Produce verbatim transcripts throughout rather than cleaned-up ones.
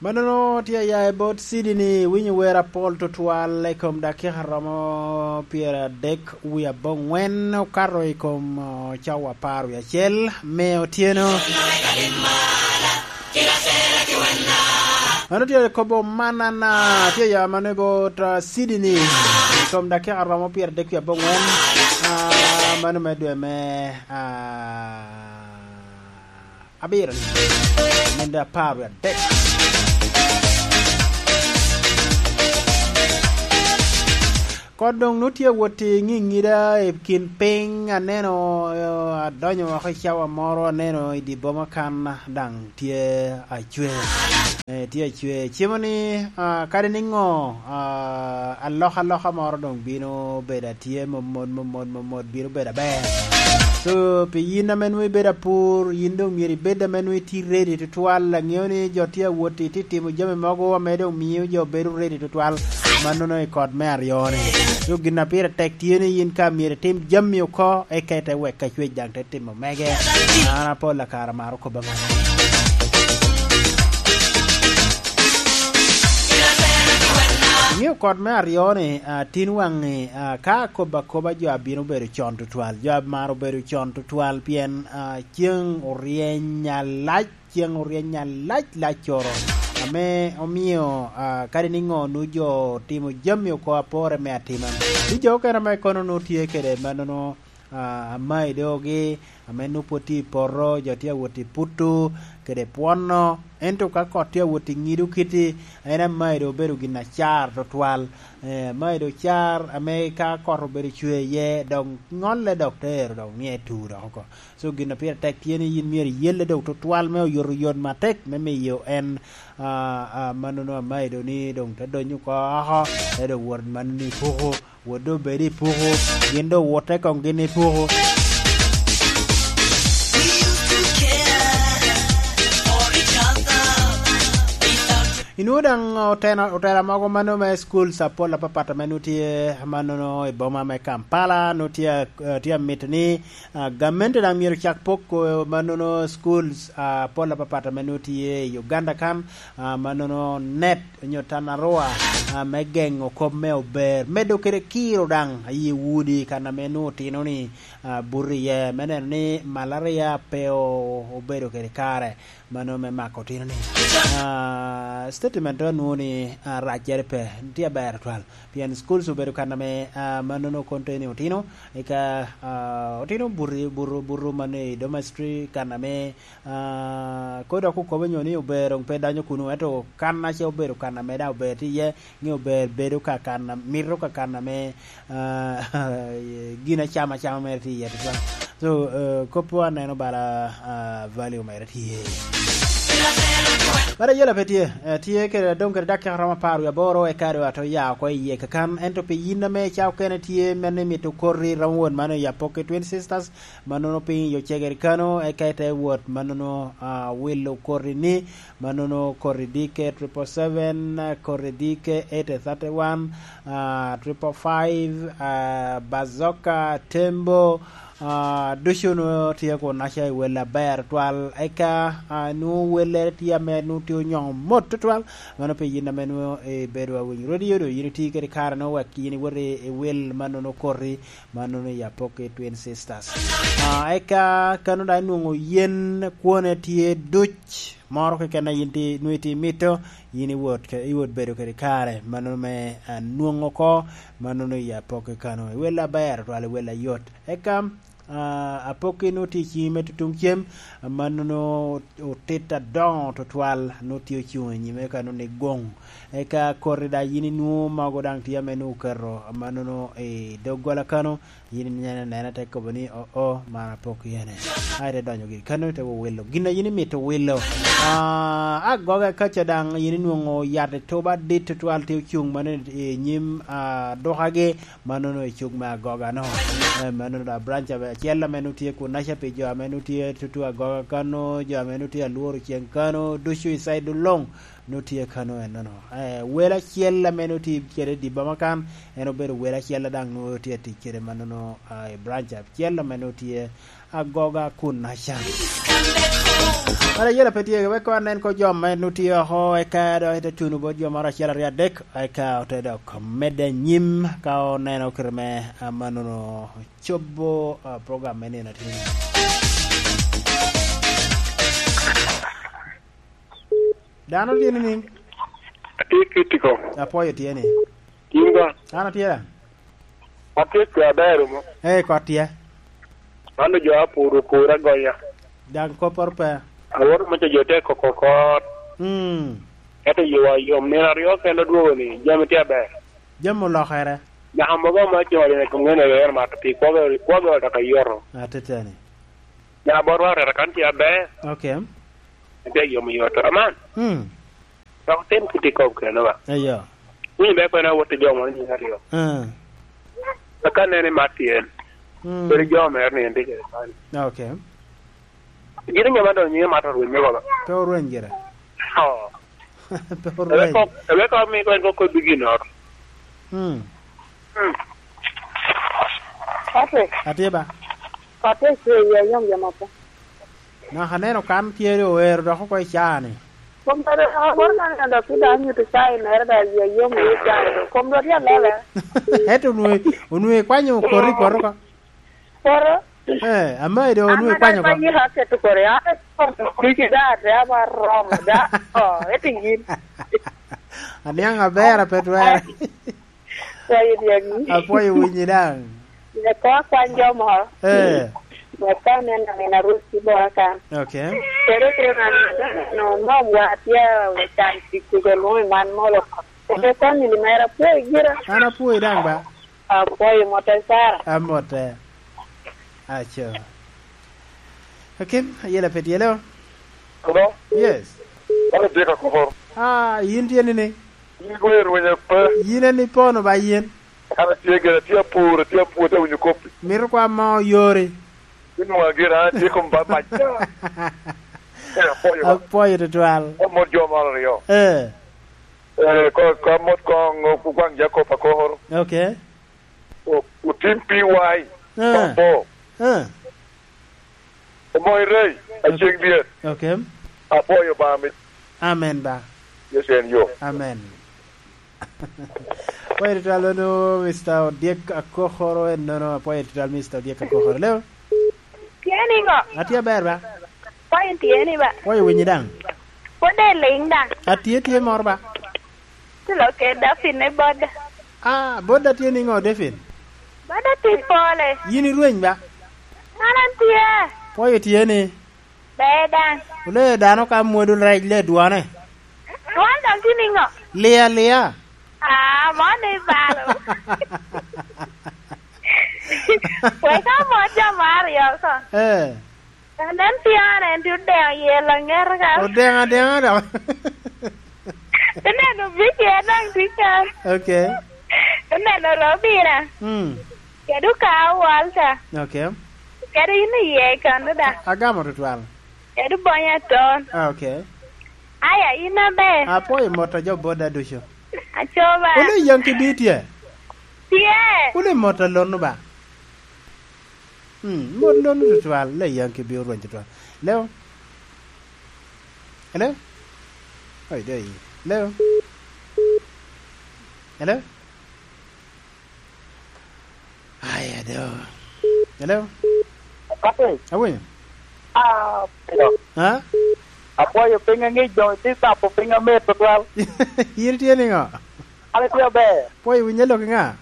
Mannono tye aya i bot Sydney, winyo wer apol tutwal i kom dakika romo pyeradek wie aboŋwen, okato i kom, uh, cawa apar wie acel me otyeno. Mano tye kobo manana, tye aya mano i bot, uh, Sydney i kom dakika romo pyeradek wie aboŋwen, uh, mano me dwe me, uh, abiro, nende apar wie adek. Kot doŋ nut tye awot i ŋiŋida i kin piny, aneno, eh, adonyo oko i cawa moro, aneno i dye boma kan daŋ tye acwe. Eh, tye acwe. Cimo ni, ah, kadi niŋo, ah, alokaloka moro doŋ bino bedo atye momot, momot, momot, bino bedo aber. So, pi yin ame nwoŋo ibedo apur, yin doŋ myero ibed ame nwoŋo itye ready tutwal. Aŋeo ni jo tye awot i, tye timo jami mogo ame doŋ mio jo bedo ready tutwal. Mannono i kot me aryo-ni. So, gin a pire tek tye ni yin ka myero itim jami oko, eka ite wek acwec daŋ te timo mege. An apol a kare amaro kobba man. Iŋeo kot me aryo-ni, ah, tin waŋi, ah, ka akobo akoba jo a bino bedo con tutwal, jo a maro bedo con tutwal, pien, ah, ceŋ oryeny alac, ceŋ oryeny alac lac coro. Ame omio, ah, kadi niŋo nu jo timo jami oko apore me atima. Ni jo okene ame kono nu tye kede mannono, ah, amaidogi, ame nu pwod tye i poto, jo tye awot i puto kede pwono, ento ka kot tye awot i ŋido kiti, en amaido obedo gin acar tutwal. Eh, amaido car ame ka kot obedo cwe iye, dok ŋolle dok tero, dok mie tu dok oko. So, gin a pire tek tye ni yin myero iyelle dok tutwal me oyotoyot matek me miyo en, ah, ah, mannono amaido ni doŋ te donyo oko oko, te doŋ wot mannono i puku. Wot doŋ bed i puku, gin doŋ wote koŋ gin i puku. Inwoŋo daŋ otena-, otela mogo mano me schools apol apapat ame nwoŋo tye, mannono i boma me Kampala, nwoŋo tye, eh, tye amito ni, ah, gamente daŋ myero cak poko mannono schools, ah, apol apapat ame nwoŋo tye i Uganda kan, ah, mannono net onyo Tanarua, ah, me geŋo kop me ober, medo kede kiro daŋ aye udi kan ame nwoŋo otino-ni, ah, buto iye, me neno ni malaria pe o-, obedo kede kare, mano me mako otino-ni. Ah, statement to anwoŋo ni, ah, raccere pe, tye aber tutwal. Pien schools obedo kan ame, ah, mannono konteni otino, eka, ah, otino buto, buto, buto mannono i dormitory kan ame Ah, kodi dok okobo nyo ni ober doŋ pe danyo kunu, ento kan ace obedo kan ame daŋ ober tye iye, ni ober bedo ka kan, mito ka kan ame, ah, gin acama acama mere tye iye tutwal. So, eh, koppo aneno bala, ah, value mere tye. Bala yela pe tye, eh, tye kede, dong kede dakika romo apar wie aboro, eka doŋ ato ya oko iye kakan, ento pi yin ame ca okene tye, mene mito koti, romo wot mano i Apoki Twin Sisters, mannono piny i Ocegere kano, eka ite wot mannono, ah, wilo koti ni, mannono koti dike triple seven, koti dike eight thirty-one, ah, triple five, ah, Bazoka, Tembo, ah, ducu nwoŋo tye kunaca i wel aber twal. Eka, ah, nwoŋo wellere tye ame nwoŋo tye onyoŋo mot tutwal. Mano pi yin ame nwoŋo ibedo awinyo radio, do yin iti kede kare nwoŋo wek yin iwot i, i wel mannono koti, mannono i Apoki Twin Sisters. Ah, eka kano daŋ inwoŋo yen kwone tye duc, moro keken a yin ti-, nwoŋo iti mito, yin iwot ke-, iwot bedo kede kare, mannono me, ah, nwoŋo oko, mannono i Apoki kano. I wel aber twal, i wel ayot. Eka, ah, Apoki nwoŋo tye i ciŋi me tutuŋ cem, mannono otit adoŋo tutwal, nwoŋo tye ocuŋ i nyime, eka nwoŋo ni goŋ. Eka koti daŋ yin inwoŋo mogo daŋ tye ame nwoŋo oketo amannono i doggola kano, yin ineno anena te kobo ni, "Oo, oo, man apok yene." A ite donyo giri kano, ite wowilo gin a yin imito wilo. Ah, agoga kaca daŋ yin inwoŋo yat etuba adit tutwal tye ocuŋ mano i nyim, ah, dukagi, mannono i cuk me agoga-no. Eh, mannono daŋ branch abe-, acel ame nwoŋo tye kunaca pi jo ame nwoŋo tye tutu agoga kano, jo ame nwoŋo tye alworo ceŋ kano, ducu i side luŋ. nwoŋo tye kano ennono. Eh, wel acel ame nwoŋo tye kede i dye boma kan, en obedo wel acel a daŋ nwoŋo tye atic kede mannono, ah, i branch acel ame nwoŋo tye agoga kun acan. Kara yela pe tye, wek anen ko jo ame nwoŋo tye oko, eka dok ite tuno bot jo moro acel aryo adek, eka ote dok medde anyim ka oneno kite me, ah, mannono cobo, ah, program me nino atin. Dano tye nining? Atye Kitiko. Apwoyo tye ni. In ba? An atye da. Atye ka aber mo. Ee, kot tye. Mano jo apuro, opuro agonya. Daŋ kopporo pe. Awoto me jo te koko kot. Mm. Ento yo wa yom, nino aryo kende odwogo ni, jami tye aber. Jami olokere. Naka mogo ma cwalo ni kongene rero mato pi kwogo, kwogo dok ayoto. Ateteni. Naka botwa rero kan tye aber. Okay. Tye yom yot. Aman. Mm. Dok tim kit i kop keno ba. Eyo. Winyo be kwen awot i jo moro nyiŋ aryo. Ah. Aka nene mat tyen. Mm. Kodi jo mere ni en tye kede kany. Okay. Gin nyama dong nyiŋe mat orweny me baba. Pe orweny gire. Oh. Pe orweny. Ebe kok, ebe kok mi kwen kok kod bigi not. Mm. Mm. Patrick. Atye ba. Patrick, ye, ye, yom, yom, apa. Naka aneno kan tye owero dok oko i caa-ni. Kom dodo, agoro kan ka dok pi dano nyuto cai mere da, yie yom i cai do. Kom dodo tye alele. Ento onwoŋo, onwoŋo ikwanyo kori i poto ka? Poto? Eh, amayi do onwoŋo ikwanyo ka? An ame dok aketo kori, an ame kori da, te aba romo da. Oh, eti yin. Aniaŋ aber, ape twere. Kwayo dyegi. Apwoyo winyi daŋ. Wek ko akwany jo moro. Eh. Wek ko aneno min arwec i bora kan. Okay. Kede kede man, no, no, wa tye we can tic kede lwongo i man molo. Kede family mera apwoyo gira. An apwoyi daŋ ba. Apwoyo mote Sara. Amote. Aco. Akim, ayela pe tyelo. Hello? Yes. An atye ka koro. Ah, yin tye nini? Yin goyo rwenya pe. Yin en ipono ba yin. An atye gire, atye apur, atye apur, atye winyo koppi. Mito kwa mo yori. Yin nwoŋo gire, an atye kom ba mac. Eh, apwoyo ba. Apwoyo tutwal. Amot jo moro aryo. Eh. Eh, ko, ko amot koŋ, okwaŋ Jacob akoro. Okay. O-, otim P Y. Eh. Kombo. Eh. Omoyo rei, aceng dyet. Okay. Apwoyo Obaŋa mit. Amen ba. Yecu en yo. Amen. Apwoyo tutwal wano, Mister Odyek Akokoro, en nono, apwoyo tutwal, Mister Odyek Akokoro. Leo? Tye niŋo? Atye aber ba. Apwoyo tye ni ba. Apwoyo winyi daŋ. Pwod eliŋ daŋ. Atye, tye moro ba. Tulo kede Dafin ni boda. Ah, boda tye niŋo, Dafin? Boda tye pole. Yin irweny ba? An an tye. Pwoyo tye ni? Ber daŋ. Wule dano ka mwodo rec le dwane. Dwan daŋ tye niŋo? Lia, lia. Ah, mon ni balo. Wek amot jo mo aryo ko. Eh. Anen pian en tye odeŋo yel aŋeta ka. Odeŋo adeŋa dok. Ineno Vicky en daŋ tye kan. Okay. Ineno Robina. Mm. Kede Okawo Walter. Okay. Kede in iye kan da. Agamo tutwal. Kede Bonya Ton. Ah, okay. Aya, in aber. Apwoyo mot a jo boda ducu. Acoba. Wule i Yankee bi tye? Tye. Wule mot a lono ba? Hmm, mot lono tutwal, le Yankee bi orweny tutwal. Leo? Hello? Oi, dai. Leo? Hello? Aya, do. Hello? Papi. Awinyo? Ah, pero. Ha? Apwoyo piny aŋic doŋ, itye capo piny amer tutwal. In tye niŋo? An atye aber. Pwoyo winyo lok i ŋa?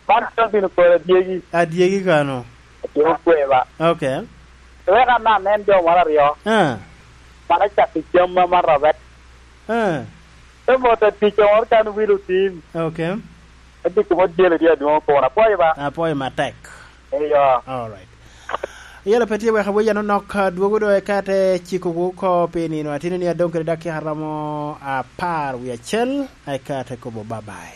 Man tye bino kore adyegi. Adyegi kano? Adyegi kwe ba. Okay. Wek an anen jo moro aryo. Ah. Man acakki cam ma man Robert. Ah. Te mot atic moro kan wilo tim. Okay. Ati kuma dyele tye adwoŋ kono. Apwoyo ba. Apwoyo matek. Eyo. All right. Yela pe tye wek awoya nonok, dwogo do eka te cikowu oko pi nino atino ni adoŋ kede dakika romo apar wie acel, eka te kobo bye bye.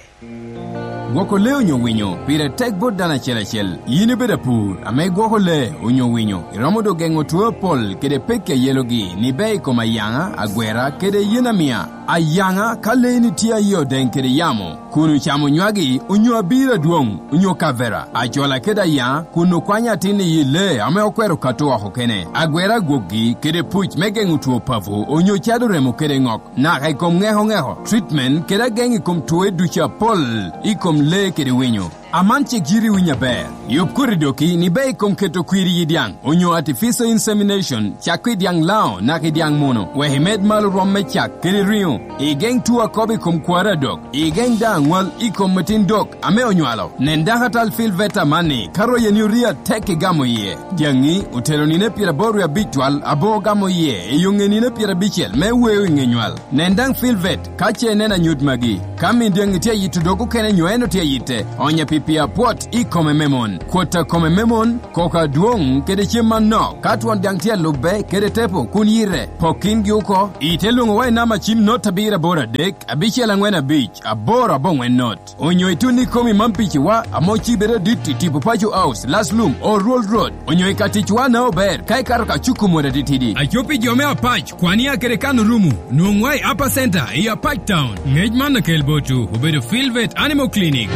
Gwoko lee onyo winyo pire tek bot dano acel acel. Yin ibedo apur ame igwoko lee onyo winyo, iromo do geŋo two apol kede pekki a yelogi ni bea i kom ayaŋa, agwera, kede yen amia. Ayaŋa ka leeni tye aye odeŋ kede yamo, kun ocamo nywagi, onyo abiro adwoŋ, onyo kavera, ajola kede ayaŋa, kun okwanyo atin i yi lee ame okwero kato oko kene, agwero agwokgi kede puc me geŋo two papo, onyo cado remo kede ŋok, naka i kom ŋeko ŋeko, treatment kede ageŋ i kom twoe ducu apol i kom lee kede winyo. Aman cik yiti winyo aber. Yub koti doki ni be i kom keto kwir i dyaŋ, onyo artificial insemination, cak i dyaŋ Lango naka i dyaŋ Muno, wek imed malo rwom me cak kede riŋo. Igeŋ two akobo i kom kwaro adok. Igeŋ daŋ aŋwal i kom metin dok ame onywalo. Nen dakatal Phil Veta amanni, ka royeni orii atek igamo iye. Dyaŋi otero nino pyeraboro wie abic twal, abo ogamo iye i yo ŋe nino pyerabicel me weo i ŋe nywal. Nen daŋ Phil Vet ka ce ineno anyut magi. Ka min dyaŋi tye ayito dog okene nyo en otye ayite, onye pi pi apwot i kome me mon. Kwot a kome me mon, koko adwoŋ kede cem manok. Ka twon dyaŋ tye alubbe kede tepo kun yite, pok kingi oko. Ite lwoŋo wa i namba cim not abiro aboro adek, abicel aŋwen abic, aboro aboŋwen not. Onyo itun i komi man piciwa, ame ocibere adit i tipo Paco House, Last Lum, Oruol Road. Onyo i ka ticwa na ober, ka ikato ka cuku mot atitidi. Aco pi jo me Apac, Kwania kede kan orumo, nwoŋwa i Upper Center, i Apac Town. Ngec man akel botwu, obedo Filvet Animal Clinic.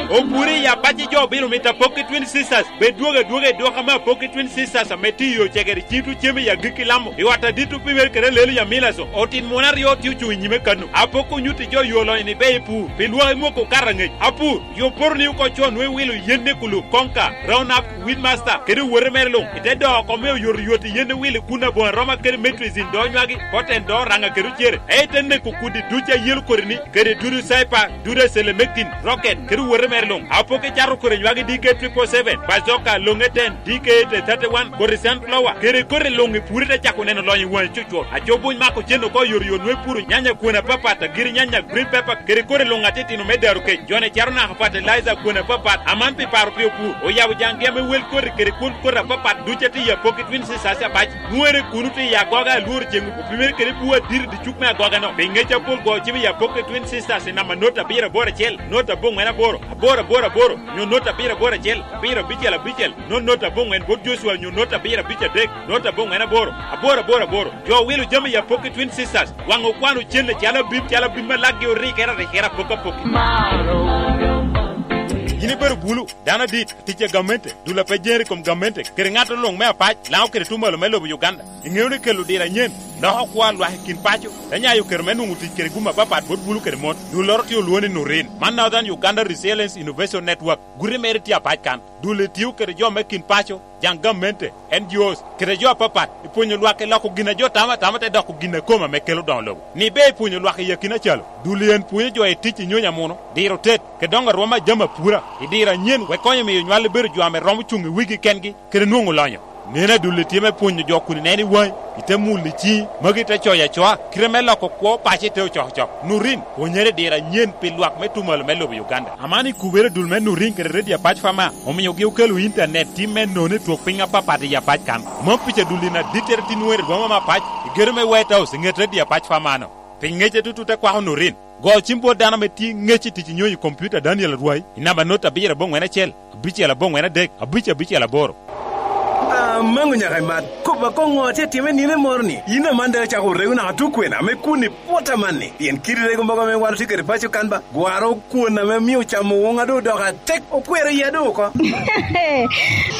Opure i Apac i jo obino mito Apoki Twin Sisters, bed dwogo adwoga i dwoko ame Apoki Twin Sisters ame tye i yo cegere ciŋ tucem i agikki Lamo, i ot adit opimere kede lelo i Amilaso, otin muno aryo tye ocuŋ i nyime kano. Apoko onyutti jo yo lonyo ni be ipur, pi lwak imoko okato angec. Apur, yo poto ni oko co nwe wilo yen ne kulu, konka, round up, weed master, kede owote mere luŋ. Ite doo oko me oyoto yot i yen ne wilo kun aboŋo aroma kede metrizin do nywagi, poten do raŋa kede ocere. Ei te neko kudi duc a yelo kodi ni, kede dudu saipa, dudu acelemekin, rocket, kede owote mere luŋ. Apoke cato kodi nywagi D K triple seven, bazooka, loŋe ten, D K eight thirty-one, kodi sunflower, kede kodi luŋ i puri te cako neno lonyo i waŋi cucwot. Aco buny mako cen oko oyotoyot nwe puro nyanya kwon apapat, agiri nyanya, green pepper, kede kodi luŋ atitino me daro kec. Jone cato naka fertilizer kwon apapat, aman pi paro pi opur. Oyabo jaŋgi ame wel koti kede kwon koti apapat ducu atye i Apoki Twin Sisters Apac. Nwere kuno tye i agoga alworo ceŋ opimere kede bur adit i dicuk me agoga-no. Pi ŋec apol go cim i Apoki Twin Sisters i namba not abiro aboro acel, not aboŋwen aboro, aboro aboro aboro, nyo not abiro aboro acel, abiro abicel abicel, not not aboŋwen bot Joshua nyo not abiro abic adek, not aboŋwen aboro, aboro aboro aboro. Jo wilo jami i Apoki Twin Sisters, waŋ okwano cen acalo abim, calo abim ma lakgi orikere arikere apok apoki. Yin ibedo bulu, dano adit, tic a gamente, dul a pe jere i kom gamente, kede ŋat oluŋ me Apac, Lango kede Tumalo me lobo Uganda. Iŋeo ni kelo diro anyen, loko kwo a lwak i kin paco, te nyayo kero me nwoŋo tic kede gum apapat bot bulu kede mon. Dulloro tye olwoŋo ni Nurin. Man Northern Uganda Resilience Innovation Network, guti mere tye Apac kan. Dul etio kede jo me kin paco, jaŋ gamente, N G Os, kede jo apapat, i pwonyo lwak i loko gin a jo tamo atama te doko gin a kome ame kelo doŋo lobo. Ni be i pwonyo lwak i akina calo, dul en pwonyo jo i tic i nyony amuno, diro tet, kede doŋo arwom a jami apura, i diro anyen wek konyo miyo nywal ebedo jo ame romo cuŋ i wigi kengi, kede nwoŋo lonyo. Neno adul itye me pwonyo jo kun ineno i waŋi, ite mulo i ciŋi, magi te coyo acoa, kite me loko kwo paco ite ocokocok. Nurin, pwonyere i diro anyen pi lwak me Tumalo me lobo Uganda. Aman ikubere dul me Nurin kede Radio Apac Fama, omiogi okelo intanet tim me nono i twok piny apapat i Apac kan. Mom pica dul in adittere tin weri rwoma me Apac, i gedo me White House i ŋet Radio Apac Fama-no. Pi ŋecce tutu te kwako Nurin. Go cim bot dano ame tye ŋec i tic i nyonyo i kompiuta Daniel Arwai i namba not abiro aboŋwen acel, abicel aboŋwen adek, abic abicel aboro. Amaŋo nyaka imat, kop akoŋo atye time nino moro ni, yin aman daŋ icako rego naka tukwena ame kun i pwot amanni, pien kidi rego mogo ame wan otye kede paco kan ba, gwaro kwon ame mio camo woŋa doŋ odoko atek, okwero iya doŋ oko.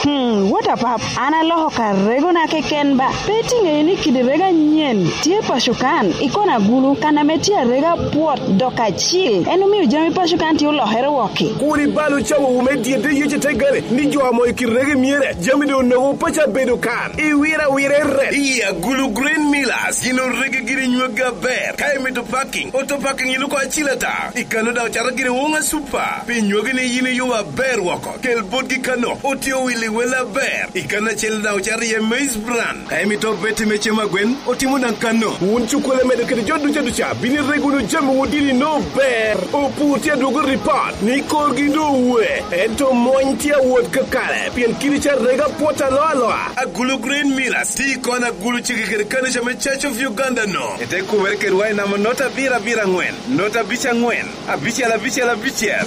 Hmm, what a pap, an aloko ka regona keken ba. Pe itiŋeyo ni kidi rego anyen tye paco kan, i kona agulu, kan ame tye arega pwot dok acil. En omio jami paco kan tye olokere wok-ki. Kur ibal ocawowu me dyedde yece te gale, ni jo amo i kidi rego emyere, jami doŋ onogo paco abedo kan. Iwira awira i ret. I agulu Green Millers, gin orege giri nyweggi aber. Ka imito parking, auto parking iluko acil ata. I kano daŋ ocato giri woŋa super. Pi nywagi ni yin iyubo aber woko, kel botgi kano, otye owilli wel aber. I kano acel daŋ ocato iye maize bran. Ka imito obeti me cem agwen, otimo daŋ kano. Wun cukkole medo kede jo duca duca, bino irego wunu jami wun dini no ber. Opur tye adwogo ripot ni korgi doŋ owe, ento mony tye awot kakare, pien kidi ca rega pwot aloa aloa. Agulu Green Millers, ti kon agulu cege kede kanica me Church of Uganda no. Ete kubere kedwa i namba nota abiro abiro angwen, nota abic angwen, abicel abicel abicel.